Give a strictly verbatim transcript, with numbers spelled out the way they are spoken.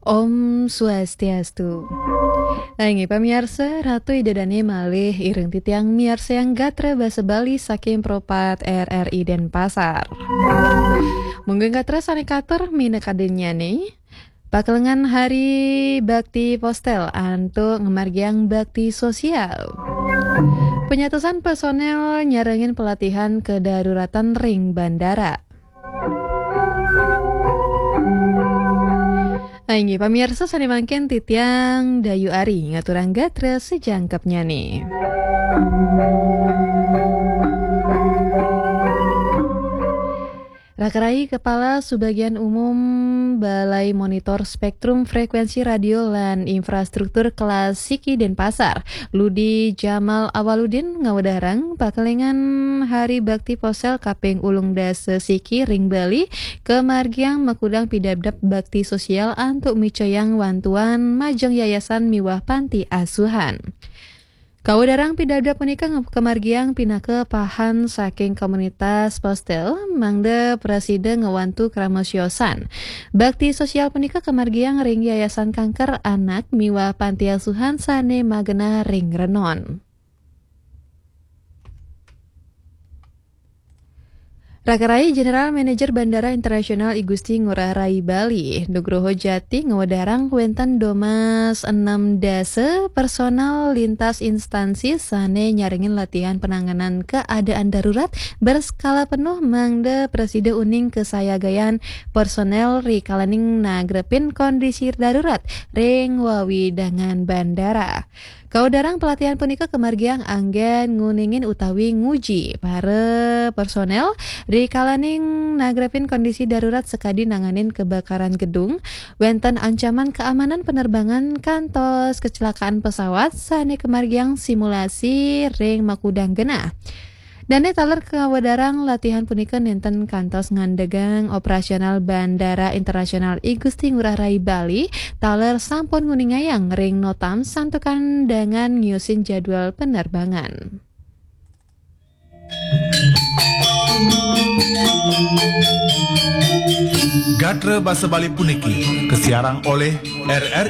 Om Swastiastu. Inggih pamiarsa, Ratu Ida Dane malih ireng titiang miarsayang gatra basa Bali saking Pro pat R R I Denpasar. Mungguing gatra sane katur minakadinnyane, pakelengan Hari Bakti Postel antuk ngamargiang bakti sosial. Penyatusan personel nyarengin pelatihan kedaruratan ring bandara. Inggih pamiarsa, sane mangkin titiang Dayu Ari ngaturang gatra sajangkepnyane. Rakarai Kepala Subagian Umum Balai Monitor Spektrum Frekuensi Radio lan Infrastruktur Kelas Siki Denpasar, Ludi Jamal Awaludin, ngawedarang pakelengan Hari Bakti Posel kaping ulung dasa siki ring Bali, kamargiang makudang pidabdab bakti sosial antuk micayang wantuan majeng yayasan miwah panti asuhan. Kawedarang pidabdab punika nge-, kamargiang pinaka pahan saking komunitas Postel, mangda prasida ngawantu krama siosan. Bakti sosial punika kamargiang ring Yayasan Kanker Anak miwah panti asuhan sane magenah ring Renon. Rakarai, General Manager Bandara Internasional I Gusti Ngurah Rai Bali, Nugroho Jati, ngawedarang wenten domas enam dasa personal lintas instansi sane nyarengin latihan penanganan keadaan darurat berskala penuh mangda prasida uning kasayagayan personel rikalaning nagrepin kondisi darurat ring wewidangan bandara. Kawedarang pelatihan punika kamargiang anggen nguningin utawi nguji para personel rikalaning nagrepin kondisi darurat sakadi nanganin kebakaran gedung, wenten ancaman keamanan penerbangan kantos kecelakaan pesawat sane kamargiang simulasi ring makudang genah. Dane taler kawedarang latihan punika nenten kantos ngandegang operasional Bandara Internasional I Gusti Ngurah Rai Bali, taler sampun nguningayang ring notam santukan dengan ngiusin jadwal penerbangan. Gatra basa Bali puniki kasiarang olih R R I